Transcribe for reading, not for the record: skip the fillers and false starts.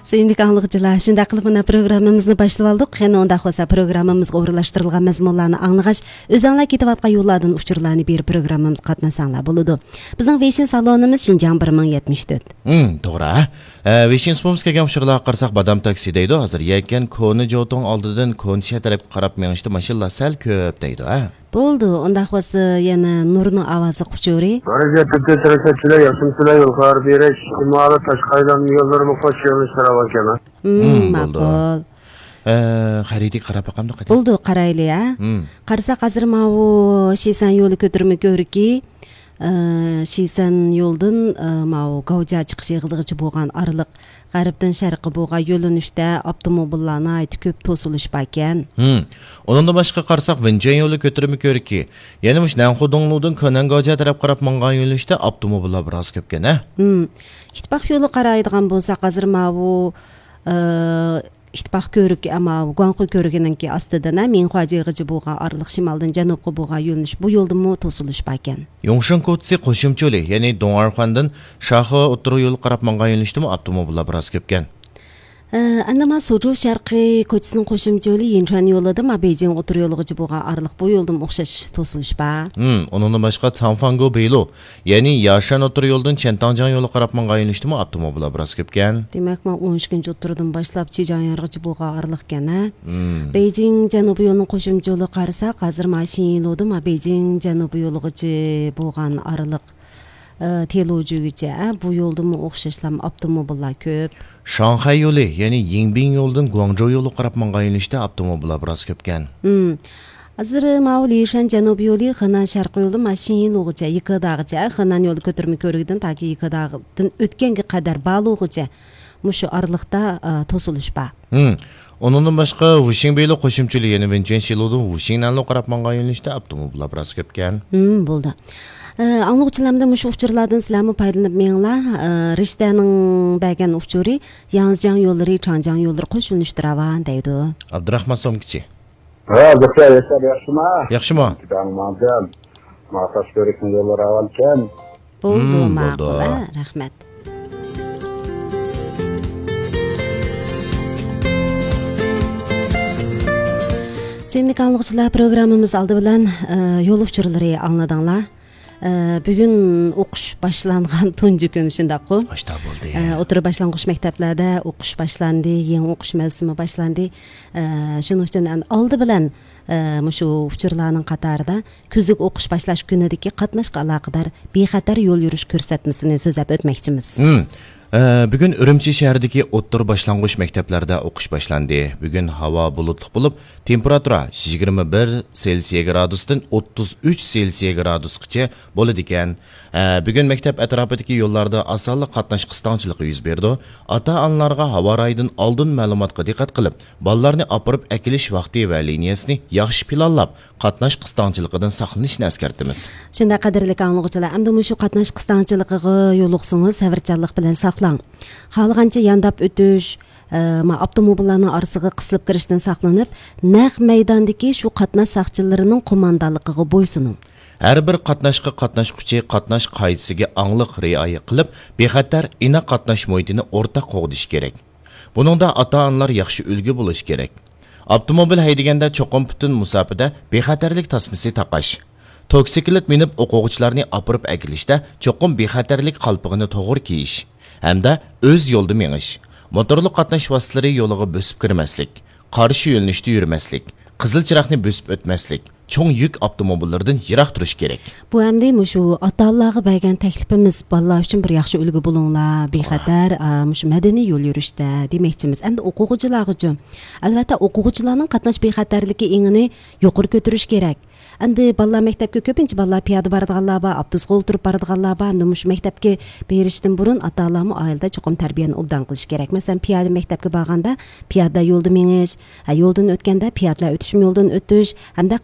Сүйүндүк аңлыгычылар, ушундай кылып мына программабызды баштап алдык. Эми онда болсо программабызга орунлаштырылган мазмунларны аңлагач, өз аңлап кетип аткан юлlardan учурларны берип программабыз катнашсаңлар болду. Биздин Вешин салонубуз Шинжаң 1074. Туура. Вешин спомс келген учурларга карасак, бадам такси дейди. Азыр якен коны жотоң алдыдан конча тарап карап меңишти машиналар сәл көп дейди, Болду, онда болсо yana Нурдун авазы кучури. Баракетте тересечилер, яшымсылар юлкар береш, ималы Ташкайдан yollarımı koş yoluşlara bakana. Макул. Хариди карап акамды кайта. Болду, карайлы, Карасак азыр мабу Шисан жолу көтөрмө көрүки. Шисан жолдун мабу Гаужа чыгышы кызыгычы болгон аралык Гариптен шаркы болгон жолунушта автомобилларны айтып көп тосулушпа экен. Онундан башка карасак Венчен жолу көтөрмө көрүки. Яны муш Нанхудоңлудун Көнөн Гаужа тарап карап манган жолунушта автомобиллар бир аз көп экен, Итпак жолу карайдыган болсак азыр мабу Итпак көрүк ама Гуанху көрүгүнөн ки астыдан Минхуа жыгычы болгон аралык шималдан жанубка болгон жолунуш бу жолдун тосулушпа экен. Йоңшун котси кошумча жолу, яны Доңархандан Шахы отуру жолу карап манган жолунушта автомобиллар бир аз көп экен. Андама Сужу шаркы көчүсүнүн кошумча жолу Инчуан жолуда Бейжиң отур жолугучу болгон аралык бу жолдун окшош тосулушпа. Онундан башка Цанфанго Бейлу, яны Яшан отур жолдун Чентаңжаң жолу карап манган жолунушта автомобиллар бир аз көп экен. Демек, 13 отурдан башлап Чижаңяргычы болгон аралык экен, Бейжиң жанубу жолунун кошумча жолу карасак, азыр Машинилоду Бейжиң жанубу жолугучу болгон аралык телоожугуча бу жолдун окшошлам автомобиллар көп. Шанхай жолу, яны Йиңбин жолдун Гуаңжоу жолу карап манган жолунушта автомобиллар бир аз көп экен. Азыр мабул Лишан жанубу жолу Хэнан шаркы жолу Машинилогуча, Икыдагыча, Хэнан жолу көтөрмө көрүгүдөн таки Икыдагыдан өткөнгө кадар баалоогуча мушу аралыкта тосулушпа. Онундан башка Вушиңбейло кошумчулу, яны Венчен шилодун Вушиңнанлы карап манган жолунушта автомобиллар бир аз көп экен. Болду. Аңлыгычыларымда мушу учурлардан силерми пайдаланып меңла Риштанын бәген учуры Яңжаң жолдары, Чаңжаң жолдары кошулуштурабан дейди. Абдурахман Сомкичи. Яшыма. Яхшыма. Мазал. Маташ көрүкүн жолдор авал экен. Болду, макул, рахмат. Сүйүндүк аңлыгычылар, программабыз алды менен жол учурлары аңладыңлар. Бүгүн окуш башланган тунжу күн ушундакпы. Башта болду. Отур башлангыч мектептерде окуш башланды, эң окуш мавсуму башланды. Шуның үчүн алды менен мушу учурлардын катарында күзүк окуш башлаш күнүдөгү катнашка алакадар бейхатар жол жүрүш көрсөтмөсүн сөзөп өтмөкчүбүз. Бүгүн Үрүмчи шаарындагы оттур башлангыч мектептерде окуш башланды. Бүгүн хаба булутлук болуп, температура 21 Цельсий градустан 33 Цельсий градускача болот экен. Бүгүн мектеп атрафындагы жолдордо асанлык катнаш кыстаңчылыгы жүз берди. Ата-аналарга хаба райдын алдын маалыматка диккат кылып, балаларны апарып экилиш вакыты ва линиясын жакшы планлап, катнаш кыстаңчылыгынан сактанышны эскертебиз. Шундай кадырлык аңлыгычылар, эмне мушу катнаш кыстаңчылыгыга жолуксаңыз сабырчанлык менен саклаң. Каалаганча яндап өтүш, автомобиллардын арасыга кысылып кириштен сактанып, нак майдандагы шу катнаш сакчыларынын командалыгыга бойсунуң. Ар бир катнашка катнашкучу катнаш кайдасыга аңлык рыая кылып, бехатар ина катнаш муhitini ортак когдуш керек. Бунунда ата-аналар жакшы үлгү болуш керек. Автомобиль хайдаганда чоқым бүтүн мусафада бехатарлык тасмасы такаш. Токсиклет минип окугучуларны апырып әкелиште чоқым бехатарлык калпыгыны тогур кийиш. Hamda öz yolda meniş, motorlu qatnaş vasıtları yoluğa bösüp kirmeslik, qarşı yönlüşte yürümeslik, qızıl çıraqni bösüp ötmeslik, çoğun yük avtomobillerden yirak duruş gerek. Bu hamda muşu ata-aналарга bergen teklifimiz ballar üçün bir yaxşı ulgu bulunlar, bexatar muşu medeni yol yürüşte demekçimiz. Hamda okugucular üçün. Albatta okugucularning qatnaş bexatarligi engini yuqori ko'tarish kerak. Endi ballar maktabga ko'pincha ballar piyoda boradiganlar bor, avtobusga o'tirib boradiganlar bor. Endi mush maktabga berishdan burun ota-onalarni oilada cho'qim tarbiyani obdan qilish kerak. Masalan, piyoda maktabga borganda piyoda yo'lda menish, yo'ldan o'tganda piyodalar o'tishim yo'ldan o'tish hamda